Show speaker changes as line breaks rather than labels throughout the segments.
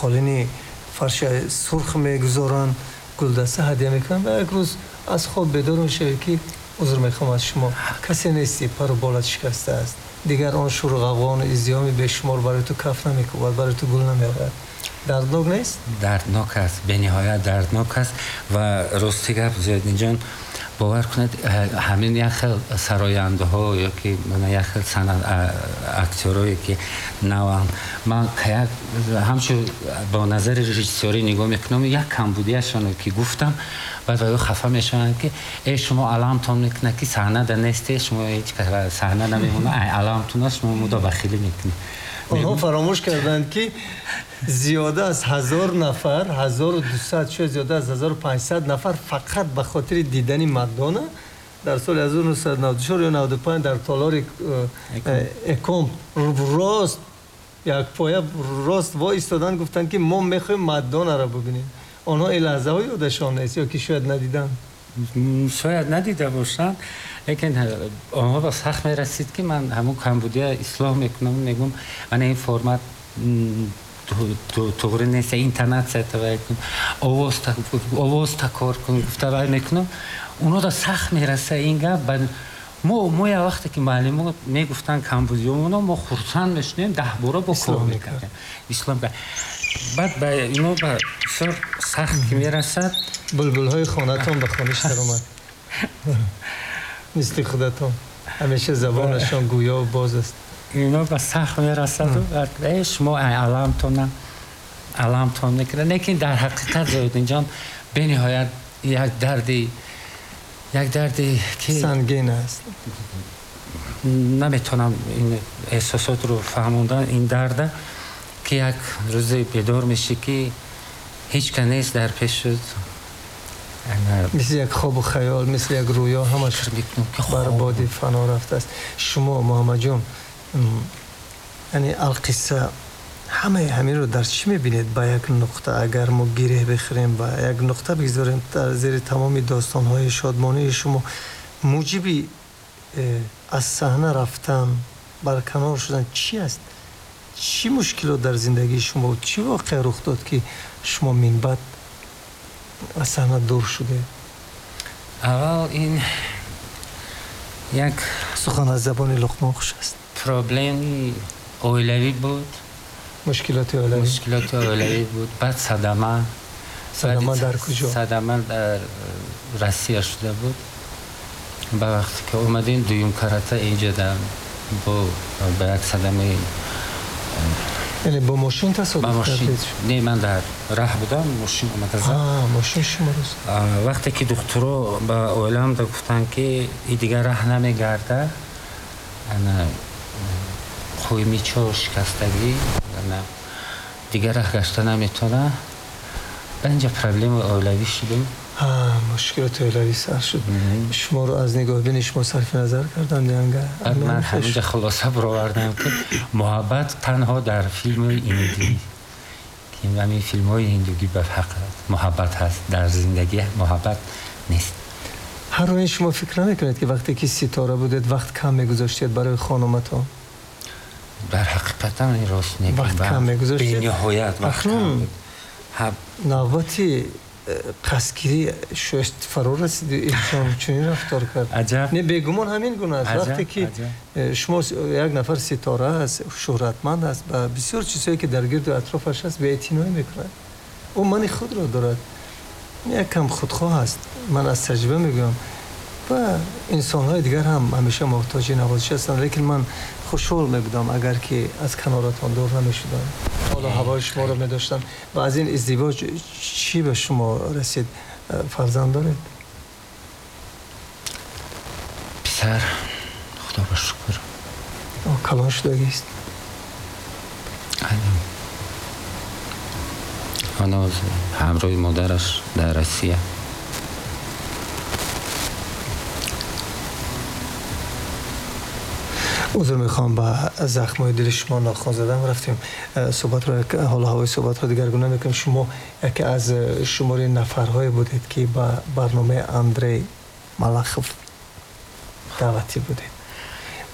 Қолини фарши сурх мегузоранд, гулдаста ҳадя мекунанд ва як рӯз аз хоб бедор мешавед, ки узр мехоҳам аз шумо, касе нестӣ, пару болат шикаста аст, дигар он шуру ғавғону издиҳоми бешумор барои ту каф намекӯбад, барои ту гул намеорад. Дарднок нест?
Дарднок аст, бениҳоят дарднок аст. Ва рости гап, Зиёддинҷон, бовар кунед, ҳамин як хел сарояндаҳо ё ки як хел актёрое ки наванд, ман як ҳамчун бо назари режиссёрӣ нигоҳ мекунам, як камбудияшоно ки гуфтам, баъд ва хафа мешаванд, ки э, шумо аламтон мекунад, ки саҳнада несте, шумо ҳеҷ саҳна намемона, аламтона шумо мудобахилӣ мекунед.
Онҳо фаромӯш карданд, ки зиёда аз 1000 нафар, 1200, шояд зиёда аз 1500 нафар фақат ба хотири дидани Мадона дар соли 1994 ё 95 дар толори Экомп рост як поя рост воистоданд, гуфтанд, ки мо мехоҳем Мадонаро бубинем. Онҳо ин лаҳзаҳо ёдашон нест ё ки шояд надиданд.
Шояд надида бошанд, лекин онҳо ба сахт мерасид, ки ман ҳамун камбудия ислоҳ мекунам, мегӯм, ана ин формат туғри нест, интонатсия тавай кун, овоз такор кун, гуфта вай мекунам. Онҳо сахт мераса ин гап. Мо як вақте ки муаллимо мегуфтанд камбудиёмоно, мо хурсанд мешудем, 10 бора бо кор мекардем, ислоҳ. Баъд ба ино ба бисёр сахт ки мерасад.
Булбулҳои хонатон ба хониш даромад, мисли худатон ҳамеша забонашон гӯё боз аст.
Ино ба сахт мерасаду шумо аламтона аламтон мекунад. Лекин дар ҳақиқат, Зоидинҷон, бениҳоят як дарди
ки сангин аст.
Наметавонам ин эҳсосотро фаҳмондан, ин дарда, ки як рӯзе бедор мешӣ, ки ҳеҷ ка нест дар пешут.
Мисли як хобу хаёл, мисли як рӯё, ҳамаш бар боди фано рафтааст. Шумо, Муҳаммадҷон, яъне алқисса, ҳамаи ҳаминро дар чӣ мебинед? Ба як нуқта агар мо гиреҳ бихӯрем, ба як нуқта бигзорем, дар зери тамоми достонҳои шодмонии шумо муҷиби аз саҳна рафтан, барканор шудан чӣ аст? Чӣ мушкилот дар зиндагии шумо буд, чӣ воқеа рух дод, ки шумо минбаъд аз саҳна дур шудед?
Аввал ин як
Сухан аз забони Луқмон хуш аст.
Проблеми оилавӣ буд.
Мушкилоти оилавӣ.
Мушкилоти оилавӣ буд, баъд садама.
Садама дар куҷо?
Садама дар Россия шуда буд. Ба вақте ки омадем, дуюм карата инҷа бо ба як садамаи
Яъне бо мошин тасодуф кардед?
Не, ман дар раҳ будам, мошин омада зад.
Мошин шуморо?
Вақте ки духтуро ба оиламда гуфтанд, ки и дигар раҳ намегарда, ана қӯймичо шикастагӣ, дигар раҳ гашта наметавона, ба инҷа проблемаи оилавӣ шудем.
Мушкилоти оилавӣ сар шуд. Шуморо аз нигоҳбини шумо сарфи назар карданд янга?
Ман ҳаминҷа хулоса баровардам, ки муҳаббат танҳо дар филми ҳиндӣ, ки ҳамин филмҳои ҳиндугӣ ба ҳақ муҳаббат ҳаст, дар зиндагӣ муҳаббат нест.
Ҳар оин шумо фикр намекунед, ки вақте ки ситора будед, вақт кам мегузоштед барои хонуматон?
Дар ҳақиқатан ин рост.
Вақт кам мегузоштед.
Бениҳоят вақт.
Акнун навбати қасдгирӣ шояд фаро расид, инсон чунин рафтор кард.
Аҷаб.
Не, бегумон ҳамин гуна аст. Вақте ки шумо як нафар ситора аст, шӯҳратманд аст, ба бисёр чизҳое, ки дар гирду атрофаш аст, беэътиноӣ мекунад. Ӯ мани худро дорад, як кам худхоҳ аст. Ман аз таҷриба мегӯям ва инсонҳои дигар ҳам ҳамеша муҳтоҷи навозиш ҳастанд. Лекин ман хушҳол мебудам, агар ки аз каноратон дур намешудам, ҳоло ҳавои шуморо медоштам. Ва аз ин издивоҷ чӣ ба шумо расид? Фарзанд доред?
Писар, худо ба шукр.
Калон шудагист?
Ҳанӯз ҳамроҳи модараш дар Россия.
Узр мехоҳам, ба захмҳои дили шумо нохон задам. Рафтем, суҳбатро, ҳоло ҳавои суҳбатро дигаргуна мекунем. Шумо яке аз шумори нафарҳое будед, ки ба барномаи Андрей Малахов даъватӣ будед.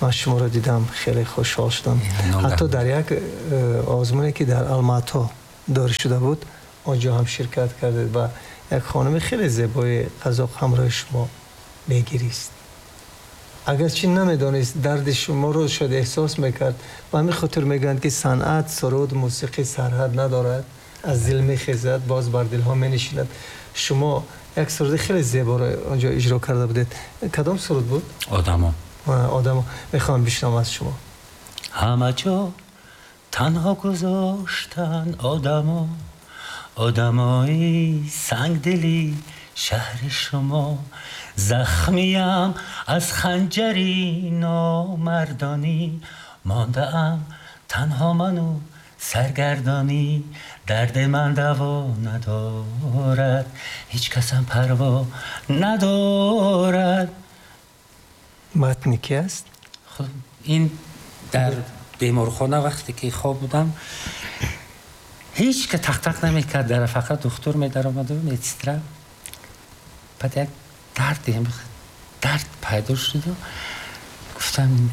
Ман шуморо дидам, хеле хушҳол шудам. Ҳатто дар як озмуне, ки дар Алмато دار شده بود، آنجا هم شرکت کردید و یک خانم خیلی زیبای قزاق همراه شما میگریست. اگرچه نمیدانست درد شما رو شاید احساس میکرد و همین خاطر میگن که صنعت، سرود، موسیقی سرحد ندارد، از دل میخیزد باز بر دلها مینشیند. شما یک سرود خیلی زیبا رو آنجا اجرا کرده بودید. کدام سرود بود؟
آدما.
آدما. میخوام بشنوم از شما.
همه جا تنها گذاشتن آدما، آدمای سنگدلی شهر شما، زخمیم از خنجری نامردانی، مانده ام تنها منو سرگردانی، درد من دوا ندارد، هیچ کسم پروا ندارد.
متن کی است؟
خب این در بیمارخانه وقتی که خواب بودم هیچ که تق تق نمیکرد، در فقط دکتر می در آمد و میتسترا. بعد یک درد پیدا شد و گفتم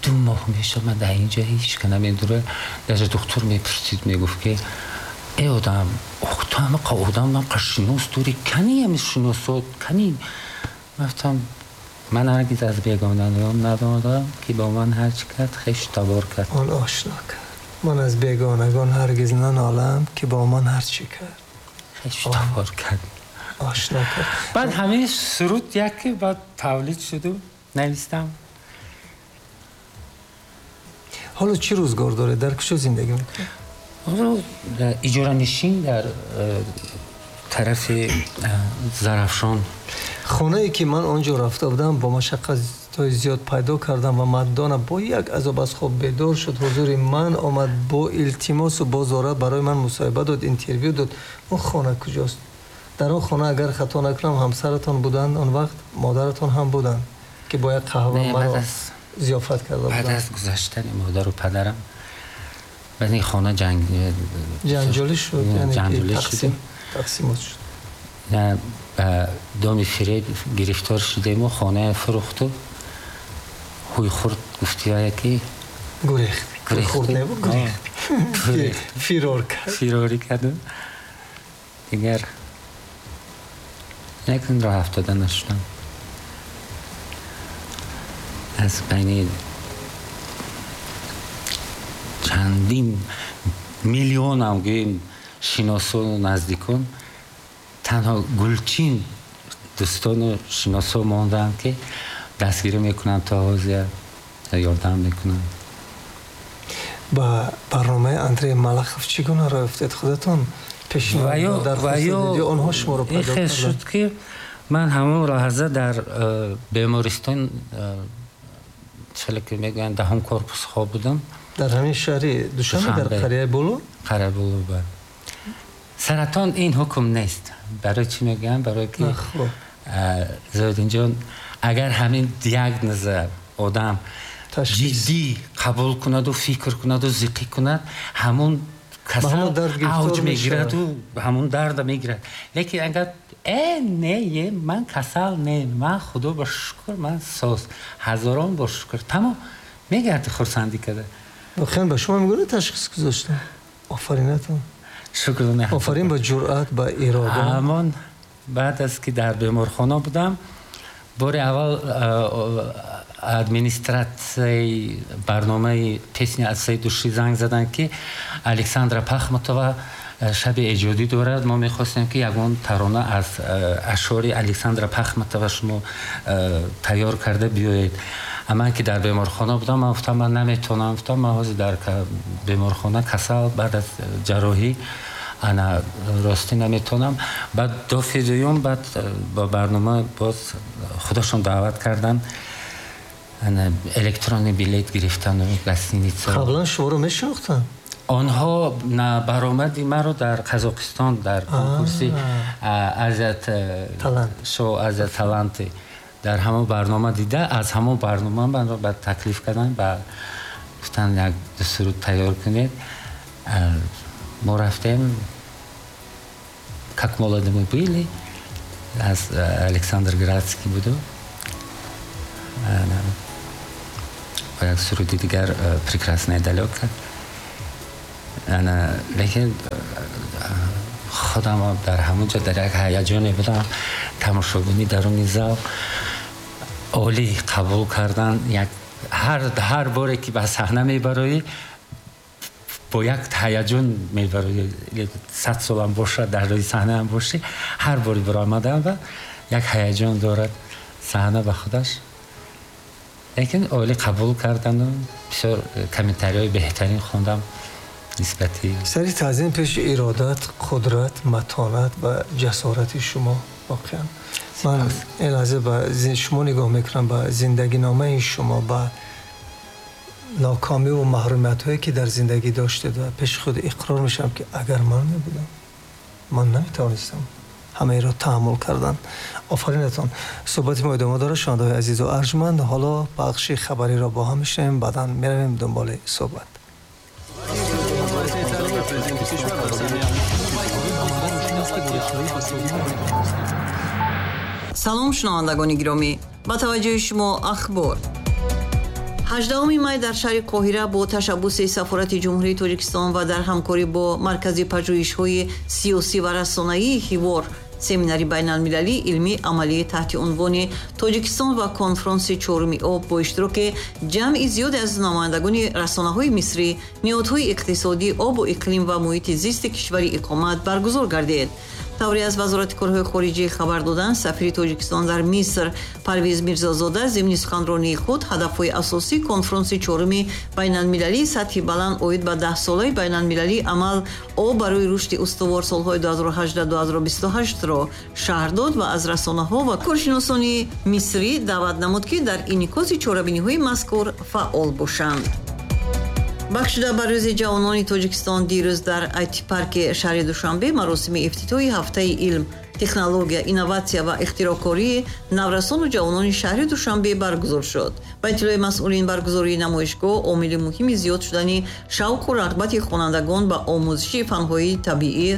2 ماه میشه من در اینجا هیچ که نمیدونه. در دکتر میپرسید، میگفت که ای آدم، تو همه آدم من قشنوس دوری کنی همی شناسات کنی. گفتم من هرگز از بیگانگان ندادم که با من هرچی کرد خویش تبار کرد.
آن آشنا کرد. من از بیگانگان هرگز ننالم که با من هرچی کرد
خویش تبار کرد.
آشنا کرد.
بعد همه سرود یکی بعد تولید شد و نویستم.
حالا چی روزگار داره؟ در کجا زندگی میکنه؟
در اجاره نشین در طرف زرافشان.
خانه ای که من آنجا رفته بودم با مشقت زیاد پیدا کردم و مردانه با یک عذاب از خواب بیدار شد، حضور من آمد با التماس و با زاره برای من مصاحبه داد، interview داد. اون خانه کجاست؟ در آن خانه اگر خطا نکنم همسرتان بودند آن وقت، مادرتان هم بودند که با یک قهوه مرا ضیافت کرده بودند.
بعد از گذشتن مادر و پدرم بعد این خانه جنجالی
شد، یعنی
جنجالی
تقسیم شد.
نه، به دام فریب گرفتار شدیم و خانه فروخت و هوی خورد. گفتی که
گریخت. خورد نبود، گریخت. فرار کرد.
فراری کرد. دیگر نکن راه افتاده نشدم. از بین چندین میلیون هم گوییم شناسان و نزدیکان، تنها گلچین دوستان و شناسا ماندن که دستگیری میکنن تا حاضر یاردم میکنن.
با برنامه اندری ملخوف چگونه راه افتاد؟ خودتون پیشنهاد درخواست دادید یا آنها شما رو پیدا کردن؟
شد که من همون لحظه در بیمارستان چه که میگن دهم корпус خواب بودم.
در همین شهر دوشنبه، در قریه بولو؟
قریه بولو بله. سرطان این حکم نیست. برای چی میگم؟ برای که زاهدین جان اگر همین دیاگنوز آدم جدی قبول کند و فکر کند و ذکر کند، همون کسل اوج میگیرد و همون درد میگیرد. لیکن اگر نه من کسل نه، من خدا با شکر من ساز هزاران با شکر تمام میگرد خرسندی کرده.
واقعا به شما میگونه تشخیص گذاشتم. آفرینتون.
شکر.
آفرین با جرأت، با اراده.
همان بعد از که در بیمارخانه بودم بار اول администрацияи барномаи песни аз всей души занг заданд ки Александра Пахматова шаби эҷодӣ дорад, мо мехостем ки ягон тарона аз ашъори Александра Пахматова шумо тайёр карда биёед. Ман ки дар беморхона будам, ман гуфтам ман наметавонам, гуфтам ман ҳозир дар беморхона касал баъд аз ҷарроҳӣ ана ростӣ наметавонам. Баъд дафъи дуюм баъд ба барнома боз худашон даъват карданд, ана электронный билет гирифтан гостиница.
Қаблан шуморо мешинохтанд?
Онҳо баромади маро дар Қазоқистон дар конкурси Азия шоу Азия Таланти дар ҳамон барнома дида, аз ҳамон барнома маро ба таклиф карданд, ба гуфтанд як ду суруд тайёр кунед. Мо рафтем, как молоды мы были, аз Александр Градский буду ва як суруди дигар Прекрасная далека. Лекин худам дар ҳамон ҷо дар як ҳаяҷоне будам, тамошобинӣ даруни зал олӣ қабул кардан. Як ҳар боре ки ба саҳна мебароӣ, бо як ҳаяҷон мебароӣ, 100 солам бошад, дар рӯи саҳнаам бошӣ, ҳар бори баромадан ва як ҳаяҷон дорад саҳна ба худаш. Лекин олӣ қабул кардану бисёр комментариҳои беҳтарин хондам нисбати.
Сари таъзим пеши иродат, қудрат, матонат ва ҷасорати шумо. Воқеан ман ин лаҳза ба шумо нигоҳ мекунам, ба зиндагиномаи шумо, ба нокомӣ ва маҳрумиятҳое ки дар зиндагӣ доштед ва пеши худ иқрор мешавам ки агар ман мебудам, ман наметавонистам ҳамаеро таҳаммул кардан. Офаринатон. Суҳбати мо идома дорад, шунавандаҳои азизу арҷманд. Ҳоло бахши хабариро бо ҳам мешунавем, баъдан меравем дунболи суҳбат.
Салом, шунавандагони гиромӣ, ба таваҷҷӯҳи шумо ахбор. 18 май дар шаҳри Қоҳира бо ташаббуси Сафорати Ҷумҳурии Тоҷикистон ва дар ҳамкорӣ бо Маркази пажӯҳишҳои сиёсӣ ва расонаии Ҳивор семинари байналмилалии илмии амалӣ таҳти унвони Тоҷикистон ва конфронси чоруми об бо иштироки ҷамъи зиёде аз намояндагони расонаҳои мисрӣ, ниҳодҳои иқтисодӣ, обу иқлим ва муҳити зисти кишвари иқомат баргузор гардид. Тавре аз Вазорати корҳои хориҷӣ хабар доданд, сафири Тоҷикистон дар Миср Парвиз Мирзозода зимни суханронии худ ҳадафҳои асосии конфронси чоруми байналмилалии сатҳи баланд оид ба 10-солаи байналмилалии амал об барои рушди устувор солҳои 2018-2028-ро шарҳ дод ва аз расонаҳо ва коршиносони мисрӣ даъват намуд, ки дар инъикоси чорабиниҳои мазкур фаъол бошанд. Бахшида ба рӯзи ҷавонони Тоҷикистон дирӯз дар айти-парки шаҳри Душанбе маросими ифтитоҳи ҳафтаи илм, технология, инноватсия ва ихтироъкории наврасону ҷавонони шаҳри Душанбе баргузор шуд. Ба иттилои масъулин, баргузории намоишгоҳ омили муҳими зиёд шудани шавқу рағбати хонандагон ба омӯзиши фанҳои табиӣ,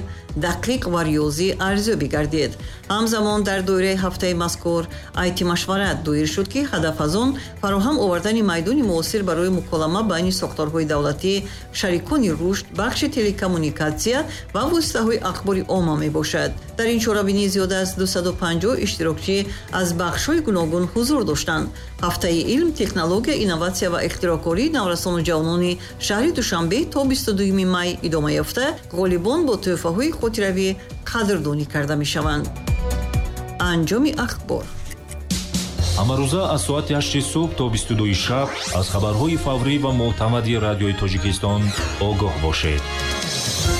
дақиқ ва риёзӣ арзёбӣ гардид. Ҳамзамон дар доираи ҳафтаи мазкур айти-машварат доир шуд, ки ҳадаф аз он фароҳам овардани майдони муосир барои муколама байни сохторҳои давлатӣ, шарикони рушд, бахши телекоммуникатсия ва воситаҳои ахбори омма мебошад. Дар ин чорабинӣ зиёда аз 250 иштирокчӣ аз бахшҳои гуногун ҳузур доштанд. Ҳафтаи илм, технология, инноватсия ва ихтироъкории наврасону ҷавонони шаҳри Душанбе то 22 май идома ёфта, ғолибон бо тӯҳфаҳои хотиравӣ қадрдонӣ карда мешаванд. Анҷоми ахбор.
Ҳамарӯза аз соати 8 субҳ то 22 шаб аз хабарҳои фаврӣ ва мӯътамади радиои Тоҷикистон огоҳ бошед.